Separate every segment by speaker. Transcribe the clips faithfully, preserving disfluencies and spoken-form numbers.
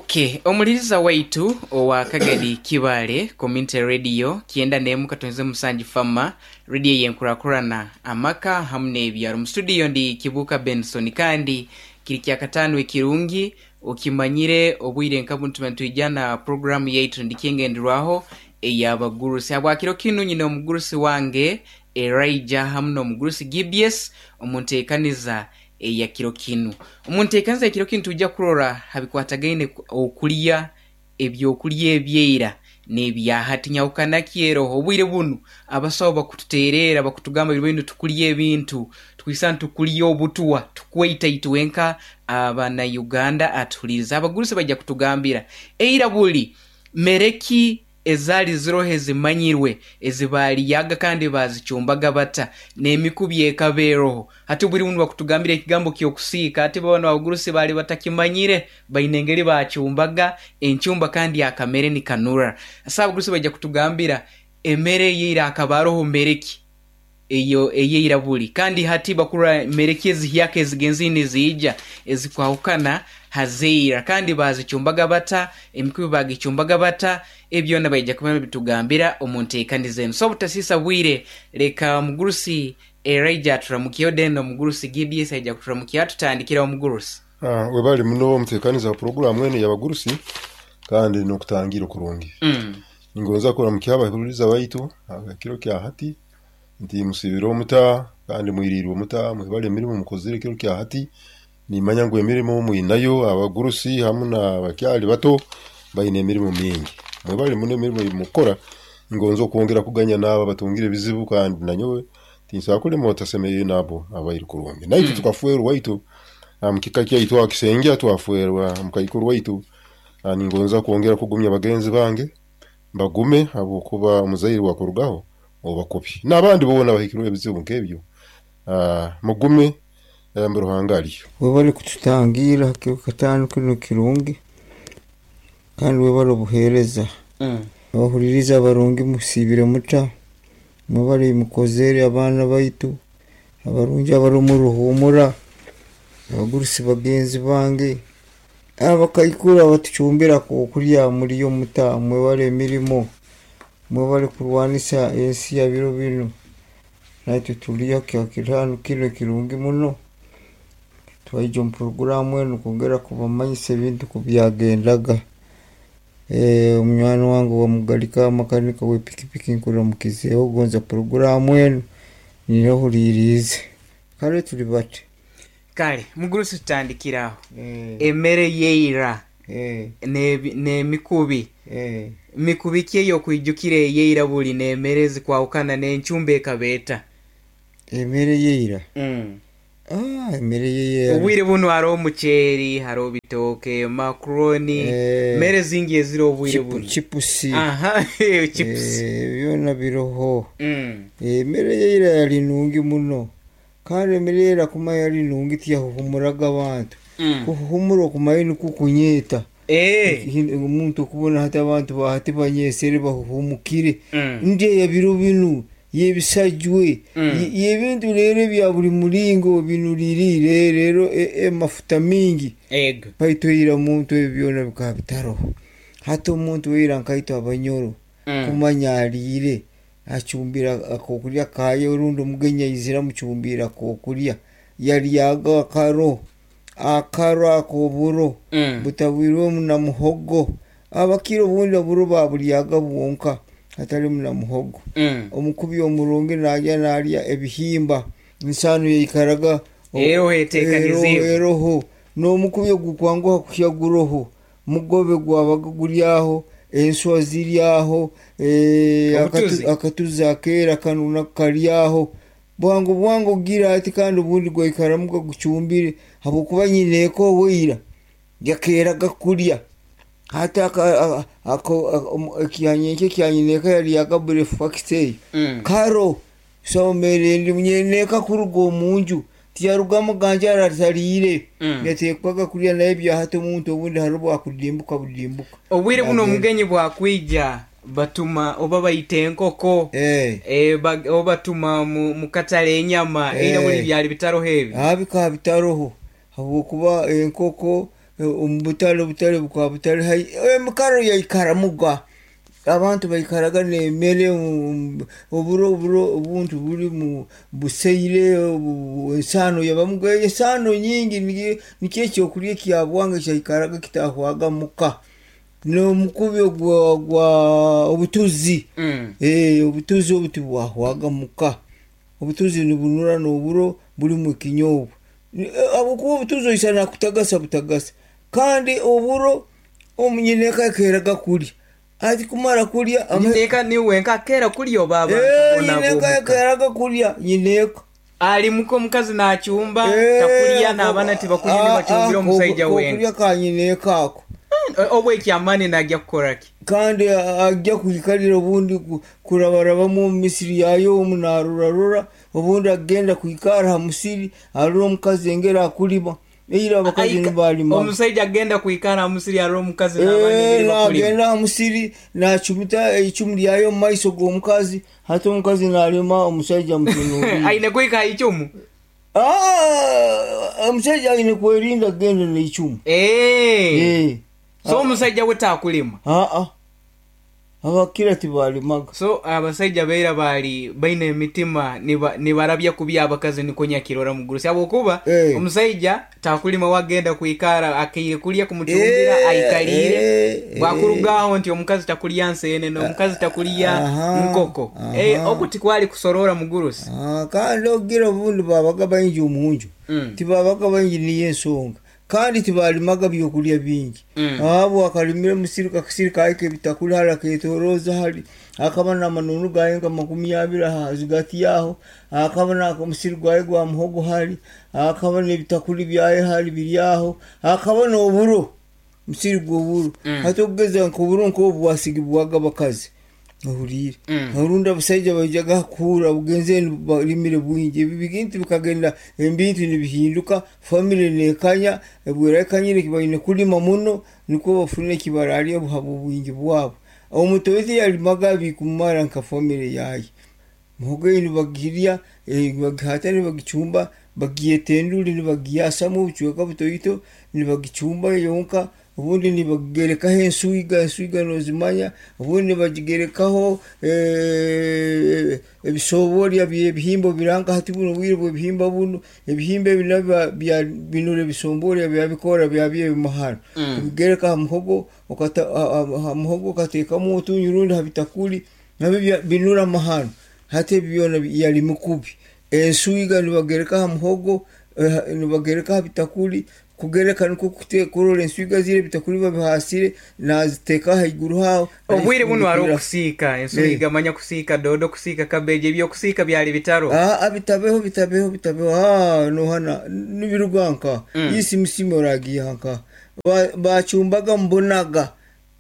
Speaker 1: Okay, omuliriza waitu owa Kagadi Kibale Community Radio kyenda n'emu katonze musanju fama radio yenkurakurana amaka hamu n'ebyaro. Mu studio ndi Kibuuka Benson, kandi kiri kyakataano ekirungi okimanyire obwire nka bunu tuba nitwija na programu yaitu ndikyengenderwaho ey'abagurusi. Habwakiro kinu nyine omugurusi wange Elijah hamu n'omugurusi Gibies omu nteekaniza eya kiro kinu. Omu nteekaniza ya kiro kinu tujja kurora habikwatagaine okulya ebyokulya ebyeira n'ebyahati nyahukana ki eroho. Obwire bunu abasawo bakututeerera bakutugamba biro binu tukulya ebintu tukwisa nitukulya obutwa tukweita itwenka abana-Uganda atuhuliriza. Abagurusi baija kutugambira eira buli mere ki ezaali ziroho ezimanyirwe ezibaalyaga kandi baazicumbaga bata n'emikubi ekaba eroho. Hati obwire bunu bakutugambira ekigambo ky'okusiika ati bo banu abagurusi baali batakimanyire baine engeri baacumbaga encumba kandi akamere nikanura. So abagurusi baija kutugambira emere eyeira akaba aroho mere ki eyo eyeira buli kandi hati bakurora mere ki ezihyaka ezigenzire niziija ezikwahukana hazeira kandi baazicumbaga bata, emikubi baagicumbaga bata, ebyona baija kuba nibitugambira omu nteekaniza enu. So obutasiisa bwire leka omugurusi Elijah aturamukyeho then omugurusi Gibies aija kuturamukya tutandikire omugurusi.
Speaker 2: Ah, webale muno omuteekaniza wa puroguramu enu ey'abagurusi kandi n'okutangira okurungi.
Speaker 1: Mm.
Speaker 2: Ningonza kuramukya abahuririza baitu ekiro kya hati nti musiibire omuta kandi mwiriirwe omuta, mwebale emirimo mukozire ekiro kya hati. Nimanya ngu emirimo mwinayo abagurusi hamu n'abakyali bato baine emirimo mingi. Mwebale muno emirimo eyimukukora, ngonza okwongera kuganya n'abo abatungire ebizibu kandi nanyowe tinsobola kulema otasemeriire n'abo abairi kurungi. Naitwe
Speaker 1: Mm.
Speaker 2: tukafwerwa waitu omu kika kyaitu aho Kisengya twafwerwa mukaikuru waitu. Ningonza kwongera kugumya bagenzi bange bagume habwokuba omuzaire wakurugaho oba kubi. N'abandi boona abahikirweho ebizibu nk'ebyo, ah, mugume mbu Ruhanga aliyo.
Speaker 3: Webale kututangira kiro kataano kinu kirungi kandi webale obuheereza.
Speaker 1: Mm.
Speaker 3: Abahuliriza abarungi musiibire muta, mwebale mukozere abaana baitu abarungi abari omu ruhumura, abagurusi bagenzi bange, abakaikuru abatucumbira okulya muriyo muta, mwebale emirimo, mwebale kurwanisa ensi ya biro binu. Naitwe turiyo kyakitaano kinu kirungi muno, twaija omu puroguramu enu kwongera kubamanyisa ebintu kubyagendaga. Eh, omunywani wange owa makanika w'epikipiki nkuramukizeeho gonza puroguramu enu niyo Kale tuli bati.
Speaker 1: Kale mugurusi tutandikire aho.
Speaker 3: Eh,
Speaker 1: Emere yeira
Speaker 3: eh,
Speaker 1: n'ebi- n'emikubi
Speaker 3: eh.
Speaker 1: mikubi ki ey'okwijukira eyeira buli n'emere ezikwahukana n'encumba ekabeeta?
Speaker 3: Emere yeira.
Speaker 1: Mm.
Speaker 3: Ah, emere yeira.
Speaker 1: Obwire bunu haroho omuceeri, haroho bitooke, macaroni,
Speaker 3: Eh,
Speaker 1: mere zingi eziri obwire
Speaker 3: chipu,
Speaker 1: bunu.
Speaker 3: chipusi.
Speaker 1: Aha, chips.
Speaker 3: Eh, byona biroho.
Speaker 1: Mm.
Speaker 3: Emere yeira yali nungi muno. Kandi emere yeira kuma yali nungi tiyahuhumuraga abantu.
Speaker 1: Mm.
Speaker 3: Kuhuhumura okumaye nikwo kunyeeta.
Speaker 1: Eh.
Speaker 3: Omuntu okubona hati abantu bahati banyesere bahuhumukire.
Speaker 1: Mm.
Speaker 3: Ndya ya biro binu yebisajwe
Speaker 1: Mm.
Speaker 3: yebintu rero ebya buli muringo binuririire rero emafuta mingi
Speaker 1: Ego.
Speaker 3: baitu eira muntu ebyo byona bikaba bitaroho. Hati omuntu eira nkaitwe abanyoro
Speaker 1: Mm.
Speaker 3: kumanya ariire acumbira akokurya kaye orundi omugenyi aizire amucumbira akokurya yaryaga akaro akaro ak'oburo
Speaker 1: Mm.
Speaker 3: butabwirwemu na muhogo. Abakire obundi oburo baburyaga bwonka hatarimu na muhogo.
Speaker 1: Mm.
Speaker 3: Omukubi omurungi narya narya ebihimba ensano yaikaraga
Speaker 1: Eroho eteekaniziibwe.
Speaker 3: eroho n'omukubi ogukwanguha kuhya guroho mugobe gwabaga guri aho enswa ziri aho eh,
Speaker 1: Obutuzi.
Speaker 3: akatu- akatuzi akeera kanu nako kari aho bwangu bwangu ogira ati kandi obundi gwaikaramu gagucumbire habwokuba nyineeka oweira yakeeraga kurya hati aka- a- ako- a- omu- ekyanyenke ekyanyineeka yaryaga breakfast eyo
Speaker 1: Mm.
Speaker 3: karo somere ndi nyineeka kuruga omunju tiyarugamu ganje aratariire
Speaker 1: Mm.
Speaker 3: yateekwaga kurya naye byahati omuntu obundi hariho bwakudimbuka budimbuka
Speaker 1: Obwire buno
Speaker 3: Nagenda.
Speaker 1: omugenyi bwakwija batuma oba baita enkoko
Speaker 3: Eh.
Speaker 1: eh, ba- oba batuma mu, mu katale enyama
Speaker 3: Eh.
Speaker 1: eira buli byali bitaroho ebi.
Speaker 3: Ah, bikaba bitaroho habwokuba enkoko Omu butale, obutale bukaba butali haihi, emikaro yaikaramuga, abantu baikaraga n'emere, oburo oburo obuntu buri mu buseire, ensaano yabamuga, ensaano nyingi. Nikyo ekyokurya ekyabwanga kyaikaraga kitahwaga muka, n'omukubi gwa gwa obutuzi.
Speaker 1: Mm.
Speaker 3: Eh, obutuzi obu tibwahwaga muka, obutuzi nibunura n'oburo burimu ekinyobwa, habwokuba obutuzi oisa nakutagasa butagasa, kandi oburo omunyineeka akeeraga kurya, ati kumara kurya
Speaker 1: Nyineeka niwe nka akeera kurya oba abantu
Speaker 3: Eh,
Speaker 1: boona
Speaker 3: nyineeka
Speaker 1: ab'omuka?
Speaker 3: Akeeraga kurya nyineeka.
Speaker 1: Ali muka omukazi nachumba,
Speaker 3: Eh,
Speaker 1: takurya n'abaana tibakurya,
Speaker 3: ah,
Speaker 1: nibacumbira
Speaker 3: ah,
Speaker 1: omusaija wenka.
Speaker 3: Kokurya ka nyineeka ako.
Speaker 1: Obu ekyamaani najya kukoraki?
Speaker 3: Kandi ajja kwikarira, obundi ku- kurabarabamu omu misiri yayo omu narorarora, obundi agenda kwikara ha musiri arora omukazi engeri akulima. Eira abakazi
Speaker 1: Aika-
Speaker 3: nibalimaga.
Speaker 1: Omusaija agenda kwikara ha musiri arora omukazi n'abaana
Speaker 3: Eh,
Speaker 1: engeri bakulima.
Speaker 3: Nagenda ha musiri nacumita eicumu lyayo omu maiso g'omukazi, hati omukazi nalima, omusaija mutunuulire.
Speaker 1: Aine kwika ha icumu?
Speaker 3: Ah, omusaija aine kwerinda kugenda neicumu.
Speaker 1: Eh.
Speaker 3: Eh.
Speaker 1: So omusaija we takulima?
Speaker 3: Aa, abakira tibalimaga.
Speaker 1: So abasaija beira bali baine emitima niba- nibarabya kubi abakazi, niko nyakirora mugurusi, habwokuba
Speaker 3: Eh.
Speaker 1: omusaija takulima, wagenda kwikara akaire kulya kumucumbira,
Speaker 3: Eh,
Speaker 1: aikalire,
Speaker 3: eh,
Speaker 1: bwakurugaho nti omukazi takulya nsenene, omukazi takulya
Speaker 3: Aha,
Speaker 1: nkoko.
Speaker 3: aha.
Speaker 1: Eh, oku tikwali kusorora, mugurusi?
Speaker 3: Ah, kandi ogira obundi babaga baingi omunju.
Speaker 1: Mm.
Speaker 3: Tibabaga baingi, niyo ensonga, kandi tibalimaga byokulya bingi.
Speaker 1: Mm.
Speaker 3: Abo akalimira omusiri, kakisiri kaye kebitakuli hali aketoroza hali, akaba namanunu gaye nka makumi abiri ahazigati yaho, akaba namusiri gwaye gwa muhogo hali, akaba nebitakuli byaye hali biri aho, akaba n'oburo, musiri gw'oburo.
Speaker 1: Mm.
Speaker 3: Hati okugeza nk'oburo nk'obu bwasigibwaga abakazi, ohuriire?
Speaker 1: Mm.
Speaker 3: Orundi abasaija baijaga kuhura bugenze balimire bwingi. Ebi bintu bikagenda, ebintu nibihinduka, family nekanya, bwerekanyire baine kulima muno nikwo bafune ekibararya buhabo bwingi bwabo. Omutozi yalimaga bikumara nka family yaye, muhogo eyi nibagirya, eh, nibagihata, nibagicumba, bagiyeta enduri, nibagiyasamu obucweka butoito, nibagicumba yonka, obundi nibagigerekaho enswiga, enswiga nozimanya, obundi nibagigerekaho eh, ebisoborya byebihimba biranka. Hati buno obwire bwebihimba buno, ebihimba ebi nabyo bya- binura ebisomborya byabikora byabyo ebimahano.
Speaker 1: Mm.
Speaker 3: Obigereka ha muhogo, okata- ha- ha- ha muhogo okateekamu otunyu, rundi ha bitakuli nabyo bya- binura amahano. Hati ebi byona yali mikubi, enswiga nibagereka ha muhogo, eh, nibagereka ha bitakuli, kugereka nikwo kute- kurora enswiga zire, ebitakuli babihasire, naziteeka haiguru haho.
Speaker 1: Obwire buno hariho
Speaker 3: Nazifundikira.
Speaker 1: okusiika ensuiga, manya kusiika dodo, kusiika kabeji, ebyokusiika byali bitaro.
Speaker 3: Ah, bitabeho, bitabeho, bitabeho. Ah, nohana nibiruga nka
Speaker 1: Mm.
Speaker 3: isi misimi oragiha nka Ba- bacumbaga mbonaga,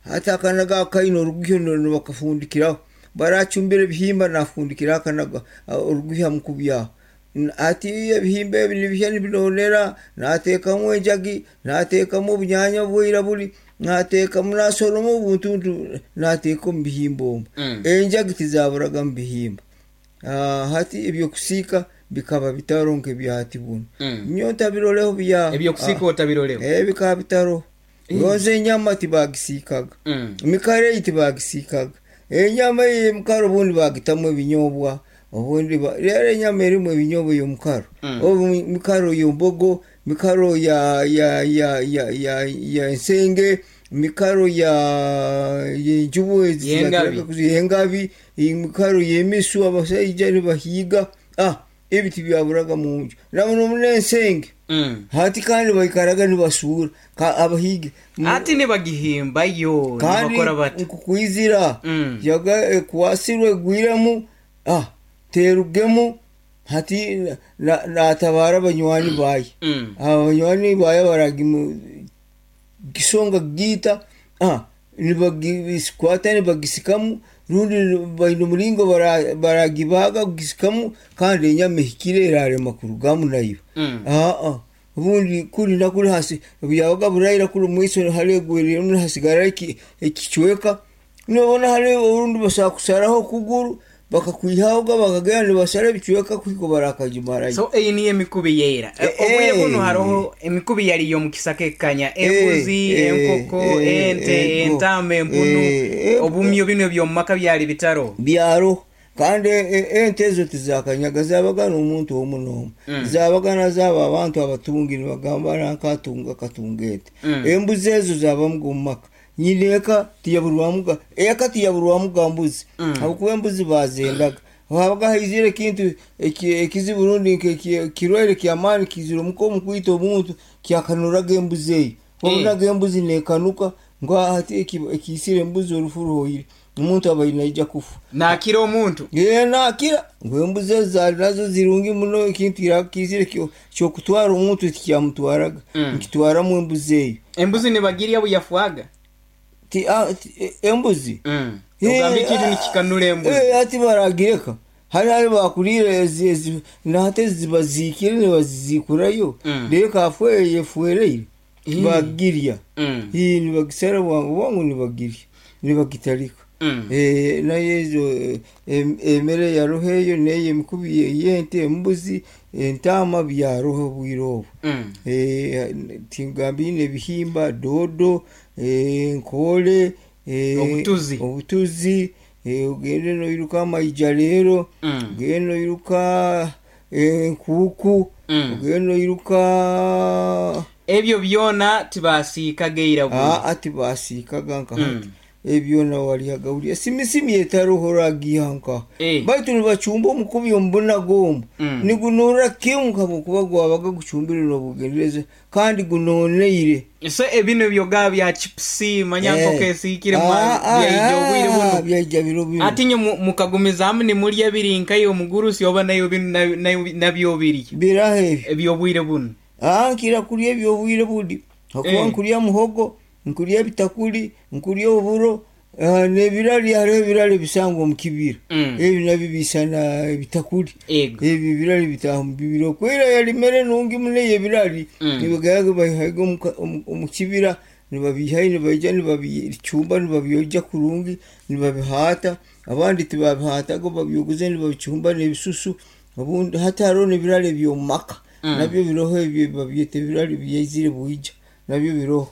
Speaker 3: hati akanaga akaine oruguhyo nibakafundikiraho, baracumbira ebihimba nafundikira akanaga, ah, oruguhyo hamukubyaho. N- ati ebihimba ebi nibihya nibinonera, nateekamu enjagi, nateekamu obunyanya bwira buri, nateekamu, nasoroma obuntuntu, nateeka omu bihimba omu.
Speaker 1: Mm.
Speaker 3: Enjagi tizaburaga mu bihimba. Ah, hati ebyokusiika bikaba bitaro nk'ebyahati buno.
Speaker 1: Mm.
Speaker 3: Nyo ntabiroleho bya
Speaker 1: Ebyokusiika otabiroleho?
Speaker 3: Ah, eh, bikaba bitaro. Gonze enyama tibagisiikaga.
Speaker 1: Mm.
Speaker 3: Emikaro eyi tibagisiikaga, enyama eyi emikaro obundi bagitamu ebinyobwa, obundi ba- rero enyama erimu ebinyobwa ey'omukaro.
Speaker 1: Mm.
Speaker 3: Obu mikaro y'embogo, mikaro ya ya ya ya ya ya ensenge, mikaro ya yenjubu.
Speaker 1: Y'engabi.
Speaker 3: Yengabi, emikaro y'emisu, abasaija nibahiiga. Ah, ebi tibyaburaga munju namuno n'ensenge.
Speaker 1: Mm.
Speaker 3: Hati kandi baikaraga nibasuura ka abahiigi.
Speaker 1: Ati nibagihimbayo?
Speaker 3: Kandi
Speaker 1: nibakora bati?
Speaker 3: nkukwizira.
Speaker 1: Mm.
Speaker 3: Yaga ekwasirwe egwiremu, ah, terugemu, hati na- natabara abanywani baye.
Speaker 1: Mm.
Speaker 3: Abanywani baye baragimu gisonga giita, ah, nibagikwata nibagisikamu, rundi baine omuringo bara- baragibaga kugisikamu, kandi enyama ehikire erarema kurugamu nayo.
Speaker 1: Mm.
Speaker 3: Aa, obundi kuri nakuri hasi byabaga buraira kuri mwiso hari egweremu hasigara eki- ekicweka, nobona hari orundi basobola kusaraho okuguru. Bakakwihahoga bakagenda nibasara ebicweka kuhika barakagimarayo.
Speaker 1: So eyi niyo emikubi yeira.
Speaker 3: Eh,
Speaker 1: Obwire
Speaker 3: eh.
Speaker 1: buno hariho emikubi yali y'omukisaka ekanya embuzi,
Speaker 3: eh,
Speaker 1: enkoko,
Speaker 3: eh,
Speaker 1: ente,
Speaker 3: ego.
Speaker 1: entama, empunu,
Speaker 3: Eh, eh,
Speaker 1: obumyo bino ebyomumaka byali bitaro.
Speaker 3: Byaro kandi e- e- ente ezo tizakanyaga, zabaga n'omuntu omu n'omu.
Speaker 1: Mm.
Speaker 3: Zabaga nazaaba abantu abatungi, nibagamba nankatunga katunga ente.
Speaker 1: Mm.
Speaker 3: Embuzi ezo zabamuga omu maka, nyina eka tiyaburwamuga, eka tiyaburwamuga mbuzi.
Speaker 1: Mm.
Speaker 3: Habwokuba embuzi bazendaga, habaga haizire ekintu eki- ekizibu rundi nke- kirwaire kyamaani kizire omuka omu kwita omuntu, kyakanuraga embuzi eyo. Wabonaga embuzi nekanuka ngu hati eki- ekiisire embuzi, orufu ruhoire, omuntu aba naija kufa.
Speaker 1: Nakira omuntu.
Speaker 3: Ye, nakira ngu embuzi ezo zaali nazo zirungi muno, ekintu kiizire kyo- kyokutwara omuntu tikyamutwaraga.
Speaker 1: Mm.
Speaker 3: Nkitwaramu embuzi eyo.
Speaker 1: Embuzi nibagirya buyafwaga.
Speaker 3: Ti- ah, ti- e- embuzi
Speaker 1: Mm.
Speaker 3: Eh,
Speaker 1: ogamba ekintu
Speaker 3: ah,
Speaker 1: nikikanura embuzi.
Speaker 3: Eh, ati baragireka hari hari bakurire ezi ezi nate zibaziikire nibazizikurayo.
Speaker 1: Mm.
Speaker 3: Reka afwe yefuereire.
Speaker 1: Mm.
Speaker 3: Bagirya.
Speaker 1: Mm.
Speaker 3: Hii nibagisara bwangu bwangu, nibagirya, nibagitarika.
Speaker 1: Mm.
Speaker 3: Eh, nayo ezo eh, em- emere yaroho eyo, neyo emikubi yente, embuzi, entama byaroho obwire obu.
Speaker 1: Mm.
Speaker 3: Eh, tingambine ebihimba, dodo, eh, nkole, eh,
Speaker 1: Obutuzi.
Speaker 3: Obutuzi, eh, ogende noiruka amaija leero.
Speaker 1: Mm.
Speaker 3: Ogende noiruka enkuuku.
Speaker 1: Mm.
Speaker 3: Ogende noiruka.
Speaker 1: Ebyo byona tibasiikaga eira buli.
Speaker 3: Aa, tibasiikaga nka hati.
Speaker 1: Mm.
Speaker 3: Ebyona walyaga ulya simisimi etaroho ragiha nka.
Speaker 1: Eh.
Speaker 3: Baitu nibacumba omukubi omubunaga omu.
Speaker 1: Mm.
Speaker 3: Nigunora kimu habwokuba gwabaga gucumbire n'obugendereza kandi gunoneire.
Speaker 1: So ebino byoga bya chipusi, manya
Speaker 3: Eh.
Speaker 1: nkoko esiikire
Speaker 3: Ah, ah,
Speaker 1: byaija obwire
Speaker 3: ah,
Speaker 1: buno.
Speaker 3: Byaija biro bino.
Speaker 1: Ati nyo mu- mukagumizaamu nimurya biri nkayo omugurusi oba nayo bino na- na- nabyo biri
Speaker 3: Biraho ebyo.
Speaker 1: ebyobwire buno?
Speaker 3: Ah, nkira kurya ebyobwire budi hakuba
Speaker 1: Eh.
Speaker 3: nkurya muhogo, nkurya ebitakuri, nkurya oburo, ah, n'ebirali. Hariho ebirali bisangwa omu kibira.
Speaker 1: Mm.
Speaker 3: Ebi nabyo bisana ebitakuri.
Speaker 1: Ego.
Speaker 3: Ebyo ebirali bitaaha mu bibira okwera yali mere nungi muno eyo ebirali.
Speaker 1: Mm.
Speaker 3: Nibagayaga babihaga omu- omu- omu kibira, nibabihayo, nibaija nibabicumba, nibabyogya kurungi, nibabihaata. Abandi tibabihataga, babyoguze, nibabicumba n'ebisusu. Obundi hati hariho n'ebirali eby'omu maka.
Speaker 1: Mm.
Speaker 3: Nabyo biroho ebyo, babyeta ebirali byaizire bwija, nabyo biroho.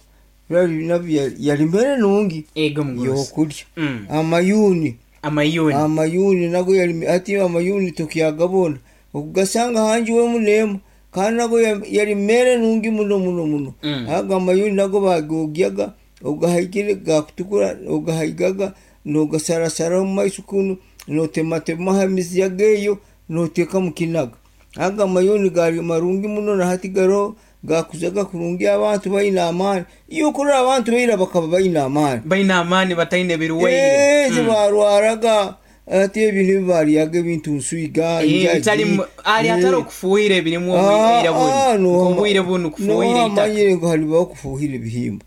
Speaker 3: Birali nabyo yali- yali mere nungi
Speaker 1: Ego, mugurusi.
Speaker 3: yokurya.
Speaker 1: Mm.
Speaker 3: Amayuni.
Speaker 1: Amayuni.
Speaker 3: Amayuni nago yali, ati amayuni tukyagabona okugasanga hangi wemu nemu, kandi nago ya- yali mere nungi muno muno muno.
Speaker 1: Mm.
Speaker 3: Aga amayuni nago bagogyaga, ogahaigire gakutukura, ogahaigaga nogasarasara omu maiso kunu, notematemaho emizi yageeyo, noteeka mu kinaga. Aga amayuni gali marungi muno, na hati garoho, gakuzaga kurungi, abantu baine amaani. Iyo okurora abantu baira bakaba baine amaani.
Speaker 1: Baine amaani, bataine birwaire.
Speaker 3: Eh, tibarwaraga. Ati ebintu ebibaryaga ebintu nswiga,
Speaker 1: Eh, bitali mu- ali atari okufuuhira ebirimu obwire buno, obwire buno kufuuhira eitaka.
Speaker 3: Amanyire ngu halibaho okufuuhira ebihimba.